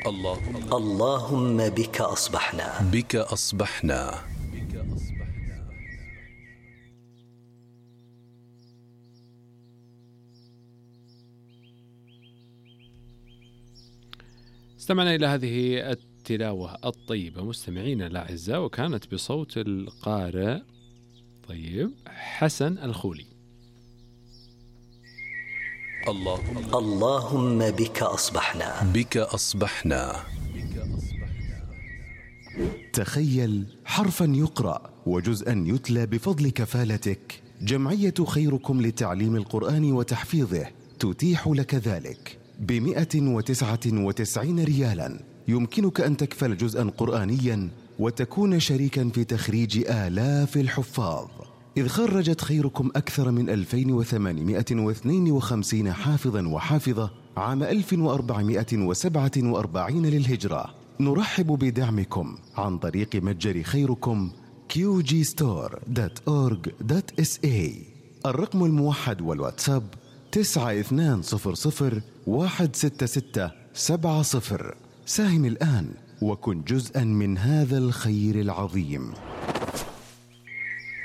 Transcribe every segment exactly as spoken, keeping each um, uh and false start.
اللهم اللهم بك أصبحنا بك أصبحنا. استمعنا إلى هذه التلاوة الطيبة مستمعينا الأعزاء، وكانت بصوت القارئ طيب حسن الخولي. اللهم اللهم بك أصبحنا بك أصبحنا. تخيل حرفا يقرأ وجزءا يتلى بفضل كفالتك. جمعية خيركم لتعليم القرآن وتحفيظه تتيح لك ذلك بمئة وتسعة وتسعين ريالا. يمكنك أن تكفل جزءا قرآنيا وتكون شريكا في تخريج آلاف الحفاظ، إذ خرجت خيركم أكثر من ألفين وثمانمئة واثنين وخمسين حافظا وحافظة عام ألف وأربعمئة وسبعة وأربعين للهجرة. نرحب بدعمكم عن طريق متجر خيركم كيو جي ستور دوت أورج دوت إس إيه. الرقم الموحد والواتساب تسعة اثنان صفر صفر واحد ستة ستة سبعة صفر. ساهم الآن وكن جزءا من هذا الخير العظيم.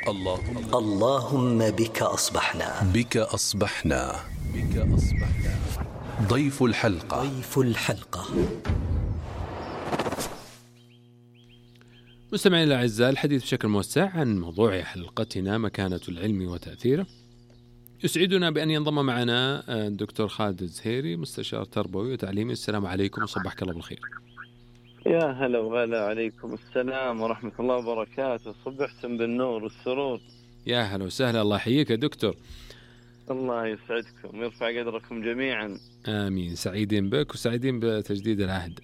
اللهم اللهم بك أصبحنا بك أصبحنا. بك أصبحنا. ضيف الحلقة ضيف الحلقة مستمعين الأعزاء، الحديث بشكل موسع عن موضوع حلقتنا مكانة العلم وتأثيره. يسعدنا بأن ينضم معنا الدكتور خالد الزهيري، مستشار تربوي وتعليمي. السلام عليكم وصبحك الله بالخير. يا هلا وغلا، عليكم السلام ورحمة الله وبركاته. صبحتم بالنور والسرور. يا هلا وسهلا، الله يحييك يا دكتور. الله يسعدكم ويرفع قدركم جميعا. آمين. سعيدين بك وسعيدين بتجديد العهد.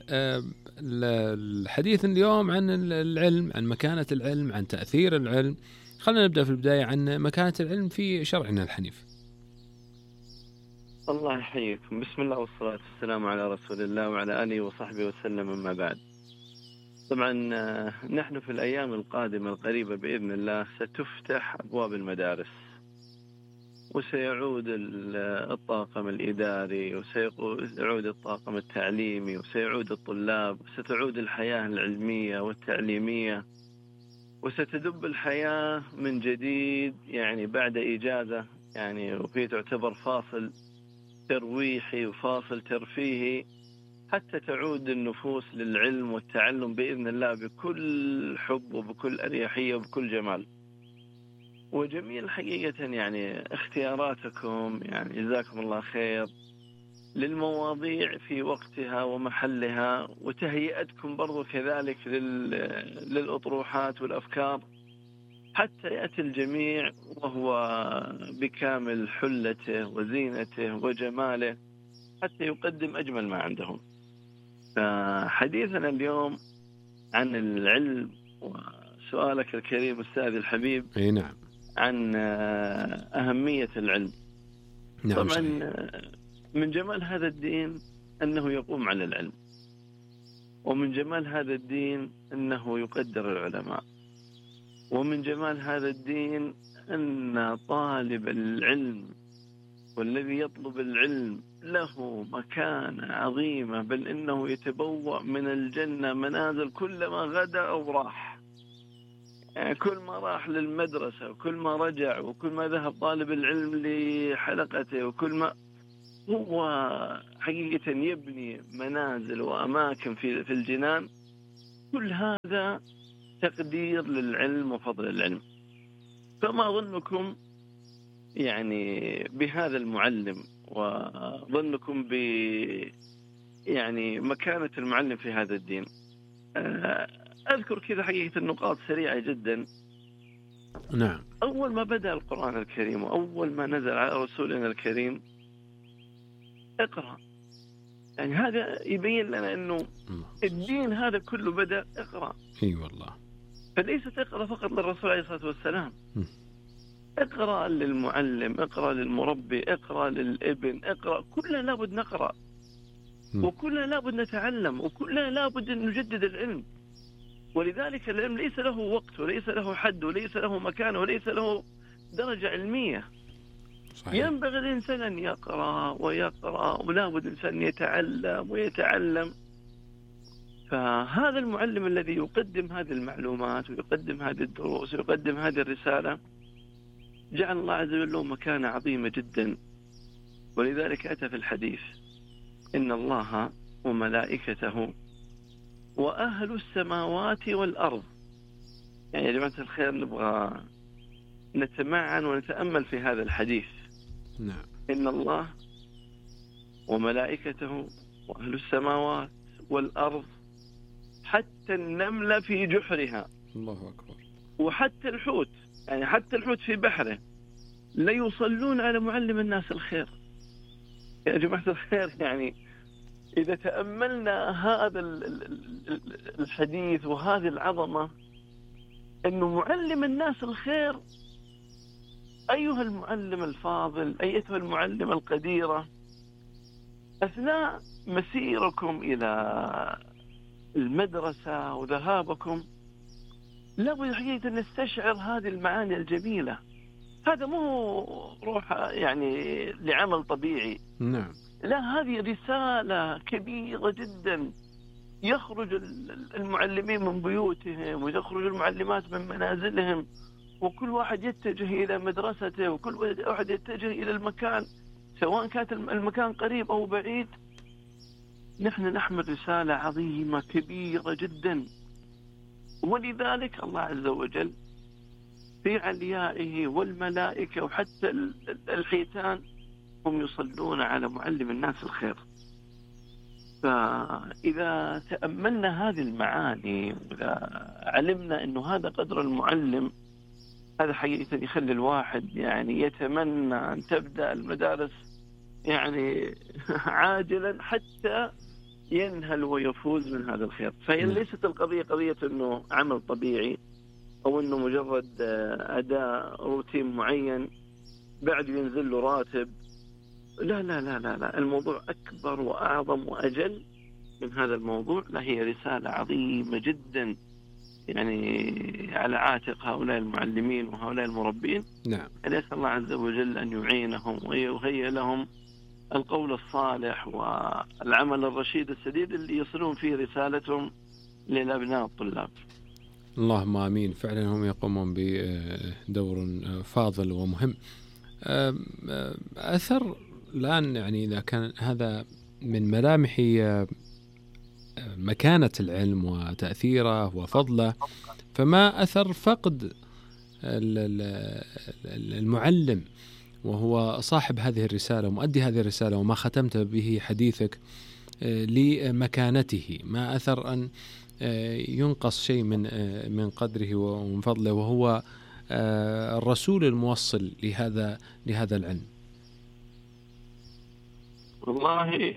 الحديث اليوم عن العلم، عن مكانة العلم، عن تأثير العلم. خلينا نبدأ في البداية عن مكانة العلم في شرعنا الحنيف. الله يحييكم. بسم الله والصلاة والسلام على رسول الله وعلى آله وصحبه وسلم. أما بعد، طبعا نحن في الأيام القادمة القريبة بإذن الله ستفتح أبواب المدارس، وسيعود الطاقم الإداري، وسيعود الطاقم التعليمي، وسيعود الطلاب، وستعود الحياة العلمية والتعليمية، وستدب الحياة من جديد يعني بعد إجازة، يعني وفي تعتبر فاصل ترويحي وفاصل ترفيهي، حتى تعود النفوس للعلم والتعلم بإذن الله بكل حب وبكل أريحية وبكل جمال. وجميل حقيقة يعني اختياراتكم، يعني جزاكم الله خير، للمواضيع في وقتها ومحلها، وتهيئتكم برضو كذلك للأطروحات والأفكار، حتى يأتي الجميع وهو بكامل حلته وزينته وجماله، حتى يقدم أجمل ما عندهم. فحديثنا اليوم عن العلم، وسؤالك الكريم أستاذ الحبيب أي نعم عن أهمية العلم. نعم طبعا صحيح. من جمال هذا الدين أنه يقوم على العلم، ومن جمال هذا الدين أنه يقدر العلماء، ومن جمال هذا الدين أن طالب العلم والذي يطلب العلم له مكانة عظيمة، بل إنه يتبوأ من الجنة منازل كلما غدا أو راح. يعني كل ما راح للمدرسة، وكل ما رجع، وكل ما ذهب طالب العلم لحلقته، وكل ما هو حقيقة يبني منازل وأماكن في في الجنان. كل هذا تقدير للعلم وفضل العلم. فما ظنكم يعني بهذا المعلم، وظنكم ب يعني مكانة المعلم في هذا الدين؟ أذكر كذا حقيقة النقاط سريعة جدا. نعم. أول ما بدأ القرآن الكريم، وأول ما نزل على رسولنا الكريم، اقرأ. يعني هذا يبين لنا أنه الدين هذا كله بدأ اقرأ. اي والله. فليست اقرأ فقط للرسول عليه الصلاة والسلام، اقرأ للمعلم، اقرأ للمربي، اقرأ للابن، اقرأ. كلنا لابد نقرأ، وكلنا لابد نتعلم، وكلنا لابد أن نجدد العلم. ولذلك العلم ليس له وقت، وليس له حد، وليس له مكان، وليس له درجة علمية. صحيح. ينبغي الإنسان أن يقرأ ويقرأ، ولا بد الإنسان يتعلم ويتعلم. فهذا المعلم الذي يقدم هذه المعلومات ويقدم هذه الدروس ويقدم هذه الرسالة جعل الله عز وجل له مكانة عظيمة جدا. ولذلك أتى في الحديث إن الله وملائكته وأهل السماوات والأرض. يعني يا جماعة الخير نبغى نتمعن ونتأمل في هذا الحديث. نعم. إن الله وملائكته وأهل السماوات والأرض حتى النملة في جحرها. الله أكبر. وحتى الحوت، يعني حتى الحوت في بحره لا يصلون على معلم الناس الخير. يا جماعة الخير، يعني إذا تأملنا هذا الحديث وهذه العظمة، أنه معلم الناس الخير، أيها المعلم الفاضل، أيتها المعلمة القديرة، أثناء مسيركم إلى المدرسة وذهابكم لابد حقيقة أن نستشعر هذه المعاني الجميلة. هذا مو روح يعني لعمل طبيعي، نعم، لا، هذه رسالة كبيرة جدا. يخرج المعلمين من بيوتهم ويخرج المعلمات من منازلهم، وكل واحد يتجه إلى مدرسته، وكل واحد يتجه إلى المكان، سواء كانت المكان قريب أو بعيد. نحن نحمل رسالة عظيمة كبيرة جدا. ولذلك الله عز وجل في عليائه والملائكة وحتى الحيتان هم يصلون على معلم الناس الخير. فإذا تأملنا هذه المعاني وإذا علمنا أنه هذا قدر المعلم، هذا حقيقة يخلي الواحد يعني يتمنى أن تبدأ المدارس يعني عاجلا حتى ينهل ويفوز من هذا الخير. فهي ليست القضية قضية أنه عمل طبيعي أو أنه مجرد أداء روتين معين بعد ينزل له راتب. لا لا لا لا لا، الموضوع أكبر وأعظم وأجل من هذا الموضوع. لا، هي رسالة عظيمة جدا يعني على عاتق هؤلاء المعلمين وهؤلاء المربين. نعم. أسأل الله عز وجل أن يعينهم ويهيئ لهم القول الصالح والعمل الرشيد السديد اللي يصلون فيه رسالتهم للأبناء الطلاب. اللهم آمين. فعلا هم يقومون بدور فاضل ومهم. أثر الآن، يعني إذا كان هذا من ملامح مكانة العلم وتأثيره وفضله، فما أثر فقد المعلم وهو صاحب هذه الرسالة ومؤدي هذه الرسالة وما ختمت به حديثك لمكانته؟ ما أثر أن ينقص شيء من من قدره ومن فضله وهو الرسول الموصل لهذا لهذا العلم؟ والله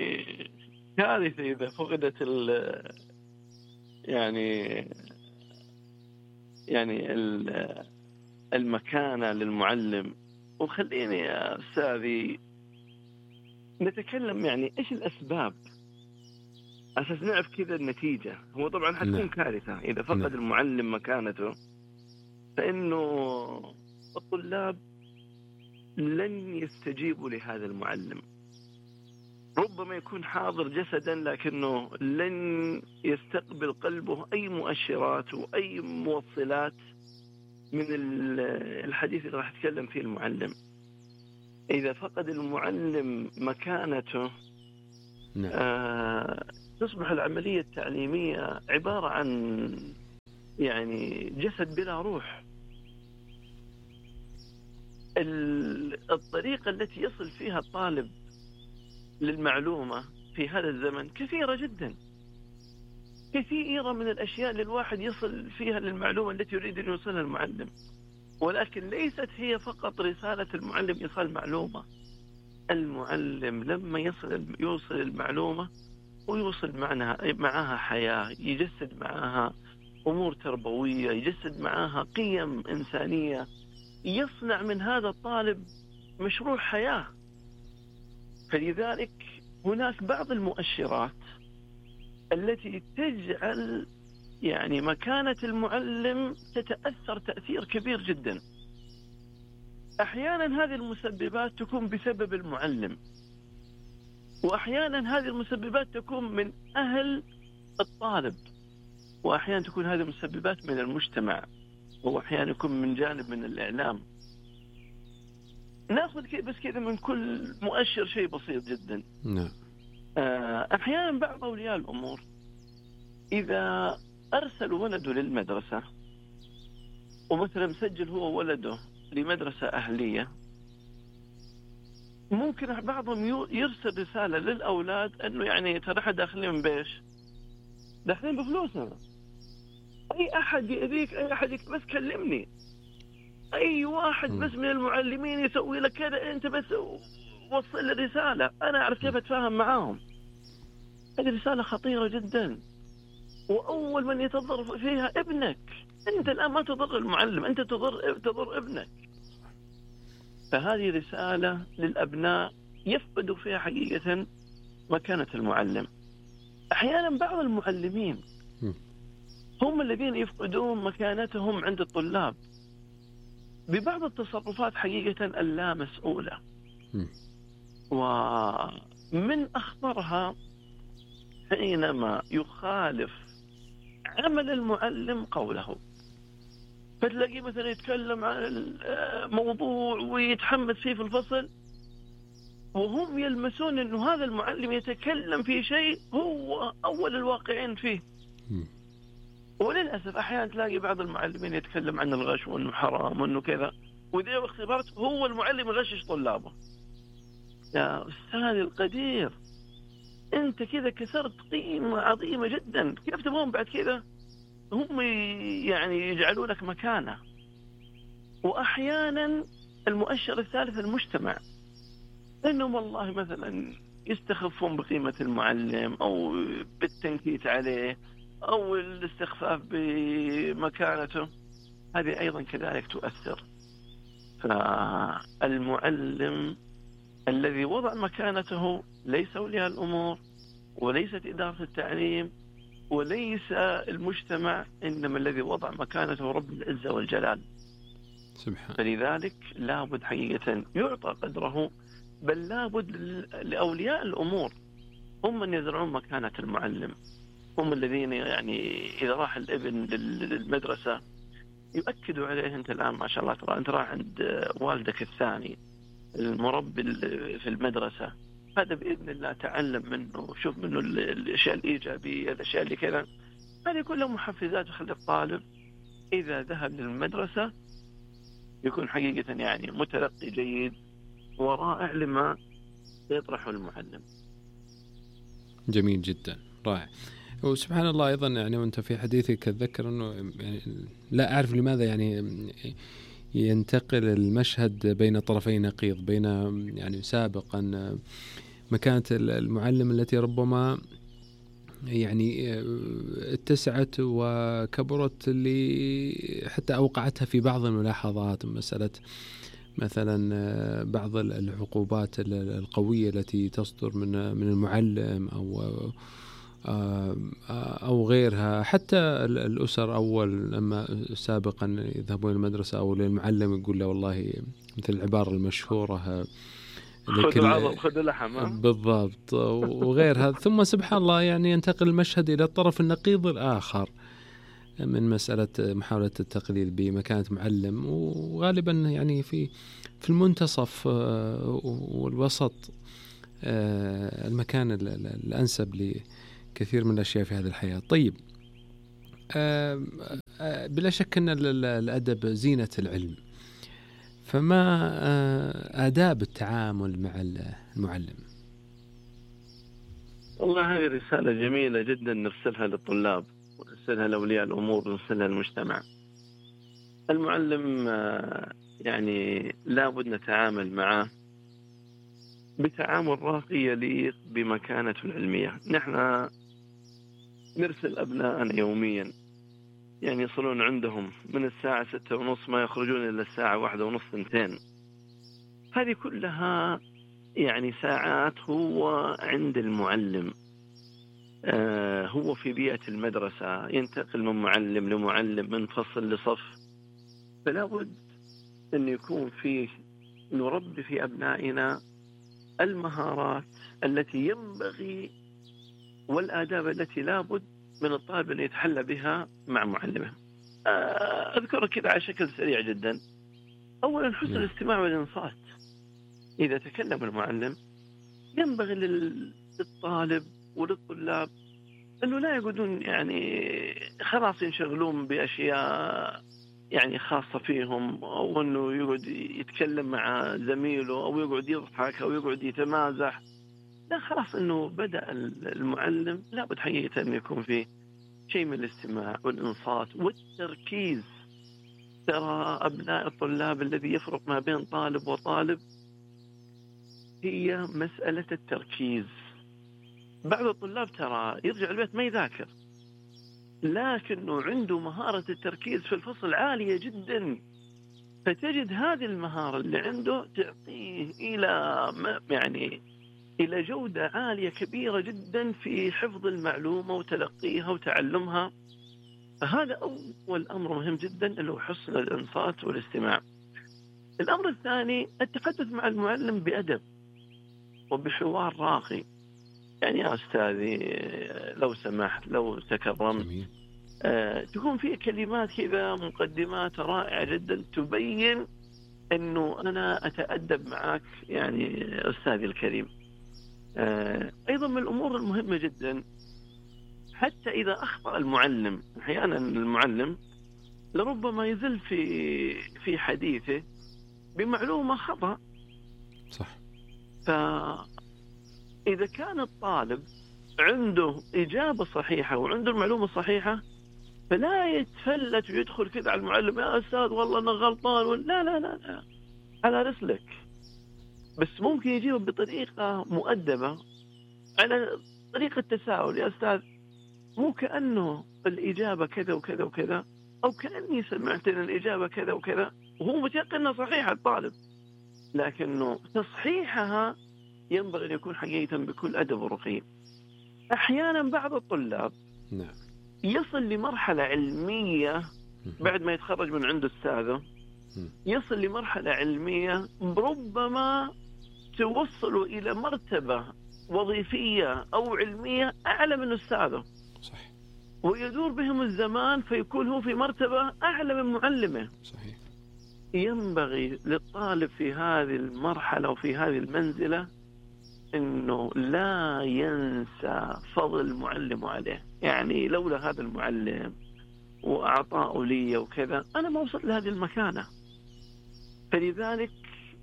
كارثة إذا فقدت يعني يعني المكانة للمعلم. وخليني يا أستاذي نتكلم يعني إيش الأسباب أساس نعرف كذا النتيجة. هو طبعا حتكون نعم. كارثة إذا فقد نعم. المعلم مكانته، فإنه الطلاب لن يستجيبوا لهذا المعلم. ربما يكون حاضر جسدا لكنه لن يستقبل قلبه أي مؤشرات وأي موصلات من الحديث اللي راح يتكلم فيه المعلم. إذا فقد المعلم مكانته نعم. آه تصبح العملية التعليمية عبارة عن يعني جسد بلا روح. الطريقة التي يصل فيها الطالب للمعلومة في هذا الزمن كثيرة جدا، كثيرة من الأشياء اللي الواحد يصل فيها للمعلومة التي يريد أن يوصلها المعلم، ولكن ليست هي فقط رسالة المعلم إيصال معلومة. المعلم لما يصل يوصل المعلومة ويوصل معها معها حياة، يجسد معها أمور تربوية، يجسد معها قيم إنسانية، يصنع من هذا الطالب مشروع حياة. فلذلك هناك بعض المؤشرات التي تجعل يعني مكانة المعلم تتأثر تأثير كبير جدا. أحيانا هذه المسببات تكون بسبب المعلم، وأحيانا هذه المسببات تكون من أهل الطالب، وأحيانا تكون هذه مسببات من المجتمع، وأحيانا يكون من جانب من الإعلام. ناخذ بس كذا من كل مؤشر شيء بسيط جدا. نعم. أحيانا بعض أولياء الأمور إذا أرسل ولده للمدرسة، ومثلا مسجل هو ولده لمدرسة أهلية، ممكن بعضهم يرسل رسالة للأولاد أنه يعني ترى احنا داخلين بيش، داخلين بفلوسنا، أي أحد يأذيك، أي أحد يك... بس كلمني، أي واحد بس من المعلمين يسوي لك كذا، أنت بس وصل الرسالة، أنا أعرف كيف أتفاهم معاهم. هذه رسالة خطيرة جدا، وأول من يتضرر فيها ابنك. أنت الآن ما تضر المعلم، أنت تضر تضر ابنك. فهذه رسالة للأبناء يفقدوا فيها حقيقة مكانة المعلم. أحيانا بعض المعلمين هم الذين يفقدون مكانتهم عند الطلاب ببعض التصرفات حقيقة اللا مسؤولة. ومن أخطرها حينما يخالف عمل المعلم قوله، فتلاقيه مثلا يتكلم عن الموضوع ويتحمس فيه في الفصل، وهم يلمسون أنه هذا المعلم يتكلم في شيء هو أول الواقعين فيه. وللأسف أحيانا تلاقي بعض المعلمين يتكلم عن الغش وأنه حرام وأنه كذا، وإذا اختبرت هو المعلم يغشش طلابه. يا أستاذ القدير، أنت كذا كسرت قيمة عظيمة جدا، كيف تبغون بعد كذا هم يعني يجعلوا لك مكانة؟ وأحيانا المؤشر الثالث المجتمع، إنهم والله مثلا يستخفون بقيمة المعلم أو بالتنكيت عليه أو الاستخفاف بمكانته. هذه أيضا كذلك تؤثر. فالمعلم الذي وضع مكانته ليس أولياء الأمور، وليست إدارة التعليم، وليس المجتمع، إنما الذي وضع مكانته رب العزة والجلال سبحان. فلذلك لابد حقيقة يعطى قدره، بل لابد لأولياء الأمور هم من يزرعون مكانة المعلم، هم الذين يعني إذا راح الابن للمدرسة يؤكدوا عليه، أنت الآن ما شاء الله ترى أنت راح عند والدك الثاني المربي في المدرسة، هذا بإذن الله تعلم منه، شوف منه الأشياء الإيجابية، الأشياء اللي كذا. هذه كلها محفزات تخلي الطالب إذا ذهب للمدرسة يكون حقيقة يعني متلقي جيد ورائع لما يطرحه المعلم. جميل جدا، رائع. وسبحان الله أيضا يعني وأنت في حديثك أتذكر أنه يعني لا أعرف لماذا يعني ينتقل المشهد بين طرفي نقيض، بين يعني سابقا مكانة المعلم التي ربما يعني اتسعت وكبرت اللي حتى أوقعتها في بعض الملاحظات، مسألة مثلا بعض العقوبات القوية التي تصدر من من المعلم أو أو غيرها. حتى الأسر أول لما سابقا يذهبون المدرسة أو للمعلم يقول له والله مثل العبارة المشهورة خذ العظم خذ اللحم بالضبط وغيرها. ثم سبحان الله يعني ينتقل المشهد إلى الطرف النقيض الآخر من مسألة محاولة التقليل بمكانة معلم، وغالبا يعني في في المنتصف والوسط المكان الأنسب لكثير من الأشياء في هذه الحياة. طيب، بلا شك أن الأدب زينة العلم، فما آداب التعامل مع المعلم؟ والله هذه رسالة جميلة جدا نرسلها للطلاب ونرسلها لأولياء الأمور ونرسلها للمجتمع. المعلم يعني لابد نتعامل معه بتعامل راقي يليق بمكانته العلمية. نحن نرسل أبناءنا يوميا يعني يصلون عندهم من الساعة ستة ونص ما يخرجون إلا الساعة واحدة ونص ثنتين. هذه كلها يعني ساعات هو عند المعلم، آه هو في بيئة المدرسة، ينتقل من معلم لمعلم، من فصل لصف. فلا بد أن يكون فيه نربي في أبنائنا المهارات التي ينبغي والآداب التي لا بد من الطالب أن يتحلى بها مع معلمه. أذكر كذا على شكل سريع جدا. أولا حسن الاستماع والإنصات. إذا تكلم المعلم ينبغي للطالب وللطلاب أنه لا يقعدون يعني خلاص ينشغلون بأشياء يعني خاصة فيهم، أو أنه يقعد يتكلم مع زميله أو يقعد يضحك أو يقعد يتمازح. لا، خلاص أنه بدأ المعلم لابد حقيقة أن يكون فيه شيء من الاستماع والإنصات والتركيز. ترى أبناء الطلاب الذي يفرق ما بين طالب وطالب هي مسألة التركيز. بعض الطلاب ترى يرجع البيت ما يذاكر، لكنه عنده مهارة التركيز في الفصل عالية جدا، فتجد هذه المهارة اللي عنده تعطيه إلى يعني إلى جودة عالية كبيرة جدا في حفظ المعلومة وتلقيها وتعلمها. فهذا أول أمر مهم جدا اللي هو حسن الإنصات والاستماع. الأمر الثاني التحدث مع المعلم بأدب وبحوار راقي. يعني يا أستاذي لو سمحت لو تكرمت، آه، تكون فيه كلمات كذا مقدمات رائعة جدا تبين أنه أنا أتأدب معك يعني أستاذي الكريم. آه، أيضا من الأمور المهمة جدا حتى إذا أخطأ المعلم، أحيانا المعلم لربما يزل في في حديثه بمعلومة خطأ. صح. فإذا كان الطالب عنده إجابة صحيحة وعنده المعلومة الصحيحة فلا يتفلت ويدخل كذا على المعلم يا أستاذ والله أنا غلطان. لا لا لا لا، على رسلك. بس ممكن يجيبه بطريقة مؤدبة على طريقة تساؤل. يا أستاذ مو كأنه الإجابة كذا وكذا وكذا، أو كأني سمعت أن الإجابة كذا وكذا، وهو متيقن أنها صحيحة الطالب، لكنه تصحيحها ينبغي أن يكون حقيقة بكل أدب ورقي. أحيانا بعض الطلاب نعم يصل لمرحلة علمية بعد ما يتخرج من عند أستاذه، يصل لمرحلة علمية ربما توصل إلى مرتبة وظيفية أو علمية أعلى من أستاذه. صح. ويدور بهم الزمان فيكون هو في مرتبة أعلى من معلمه. صحيح. ينبغي للطالب في هذه المرحلة وفي هذه المنزلة إنه لا ينسى فضل معلمه عليه. يعني لولا هذا المعلم وأعطاه لي وكذا أنا ما وصلت لهذه المكانة. فلذلك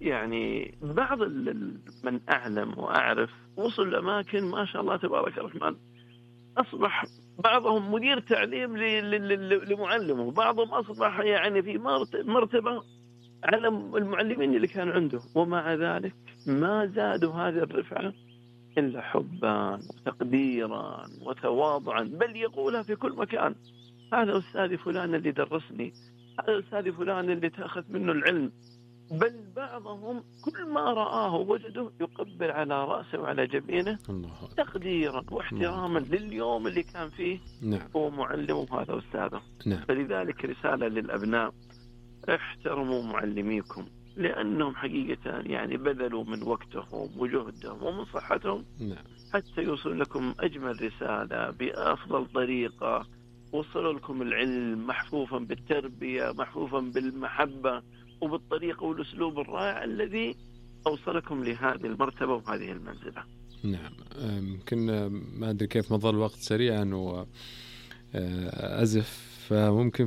يعني بعض من أعلم وأعرف وصل لأماكن ما شاء الله تبارك الرحمن، أصبح بعضهم مدير تعليم لمعلمه، بعضهم أصبح يعني في مرتبة على المعلمين اللي كان عنده، ومع ذلك ما زادوا هذه الرفعة إلا حبا وتقديرا وتواضعا، بل يقولها في كل مكان: هذا أستاذي فلان اللي درسني، هذا أستاذي فلان اللي تأخذ منه العلم. بل بعضهم كل ما رآه وجده يقبل على رأسه وعلى جبينه تقديرا واحتراما لليوم اللي كان فيه. نعم. هو معلمه هذا أستاذه. نعم. فلذلك رسالة للأبناء: احترموا معلميكم، لأنهم حقيقة يعني بذلوا من وقتهم وجهدهم ومن صحتهم. نعم. حتى يوصل لكم أجمل رسالة بأفضل طريقة، وصلوا لكم العلم محفوفا بالتربية، محفوفا بالمحبة وبالطريقة والأسلوب الرائع الذي أوصلكم لهذه المرتبة وهذه المنزلة. نعم. يمكن ما أدري كيف مضى الوقت سريعا وأزف، فممكن في